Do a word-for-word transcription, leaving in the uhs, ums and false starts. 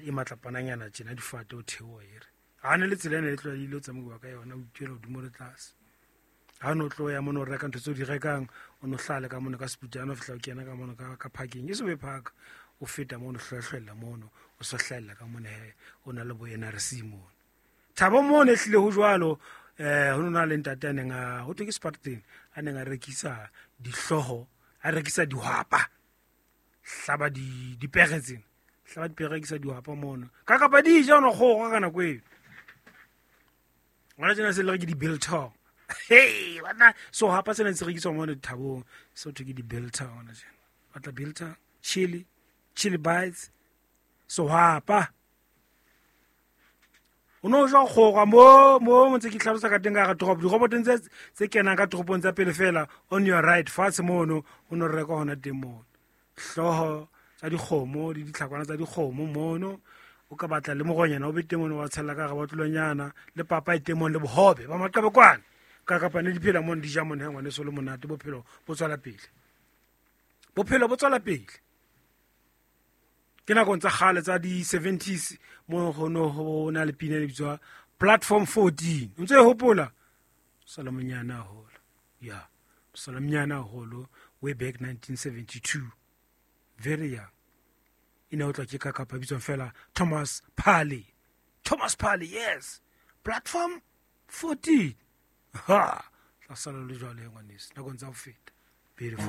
E matlapananyana tjena, difate, o theoha e re ha ne le tsela ena e tlwaelehile o tsamaiwa ka yona, o ituela hodimo le tlase. Ha o no tlo ya mono o reka ntho tseo di rekang, o no hlale ka mono ka seputana, o fihla o kena ka mono ka ka parking, e se be park, o feta mono, hlwahlwella mono, o so hlahella ka mono he, o na le bo N R C mono thabo mono. E hlile ho jwalo. eh ho na le ntate a neng a ho thwe ke Spartan, a neng a rekisa dihlooho, a rekisa dihwapa, hlaba di dipere tsena, hlaba dipere, rekisa dihwapa mono ka kapa di ja ono kgogo ka nako eo. Ngwana tsena se le re ke di-biltong. Hey bana, sehwapa sena se rekiswa mono dithabong, se ho thwe ke di-biltong. Ngwana tjena batla biltong, chili, chili bites, sehwapa o no jwa kgorwa mo mo mo ntse ke tlhalosa ka teng ka hara toropo, dirobotong tse tse kenang ka toropong tsa pele fela, on your right fatshe mono, o no reka hona teng mono hlooho tsa dikgomo le ditlhakwana tsa dikgomo mono. O ka batla le moronyana o be teng mono, wa tshella ka hara botlolonyana, le papa e teng mono, le bohobe ba maqebekwane ka kapa ne di phela mono, di ja mono. He ngwaneso, le monate, bophelo bo tswela pele, bophelo bo tswela pele. Ke nakong tsa kgale tsa di-seventies mo ho no ho na le pina e bitswa Platform fourteen, o ntse e hopola? Sala monyane haholo, ya sala monyane haholo, way back nineteen seventy-two, very young. E ne o tla ke ka kapa bitswang fela Thomas Parley, Thomas Parley, yes, Platform fourteen. Ha tla sala le jwale ngwaneso, nakong tsa ho feta. Beautiful.